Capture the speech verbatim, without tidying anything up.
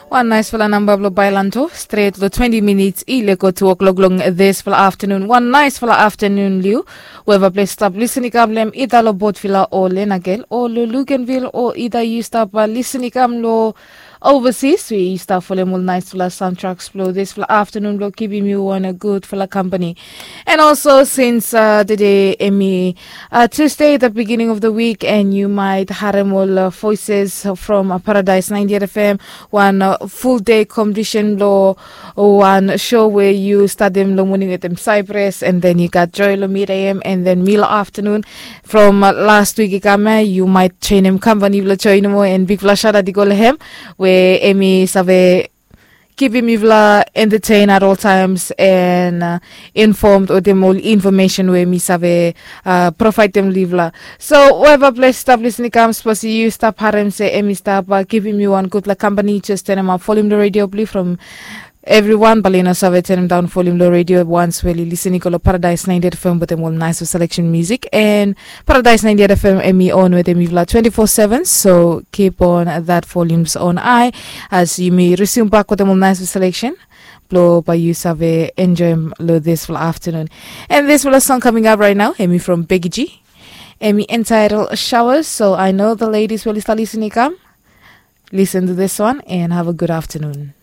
Wan naisfala namba blong bailanto stret long twenti minits i leko tu o'klok long disfala aftanun. Wan naisfala aftanun liu. Weva ples stap lisin i kam long hem ida long botvila o lenagel o long lugenvil o ida yu stap lisin i kam long ovasis we yu stap folem ol naisfala samtraks blong disfala aftanun blong kipim yu wan gudfala kampani. And also since uh, today emi uh, Tuesday, the beginning of the week, and you might harem ol uh, voices from uh, Paradise ninety-eight F M, one uh, full day competition lo one show where you start them lo morning with them Cyprus, and then you got Joy lo mid A M, and then Milo afternoon. From uh, last week ikame, you might train him company lo join mo and big flash out at the go him where emi save kipim yufala entertain at all times and uh, informed wetem ol information we mi save uh, provide dem long yufala. So whoever ples stap lisin i kam, sapos yu stap harem se em i stap uh, givim yu wan gudfala company, just turn up volume the radio blue from everyone. Bali no save turn down volume lo radio once we li lisin i go lo Paradise ninety-eight F M wetem ol nice selection music and Paradise ninety-eight F M emi on wetem yufala twenty-four seven. So keep on that volumes on I as yumi resume back wetem ol nice selection. Blo bae yu save enjoem lo disfala aftanun. And disfala song coming up right now emi from Becky G. Emi entitled Showers. So I know the ladies will start listening come. Listen to this one and have a good afternoon.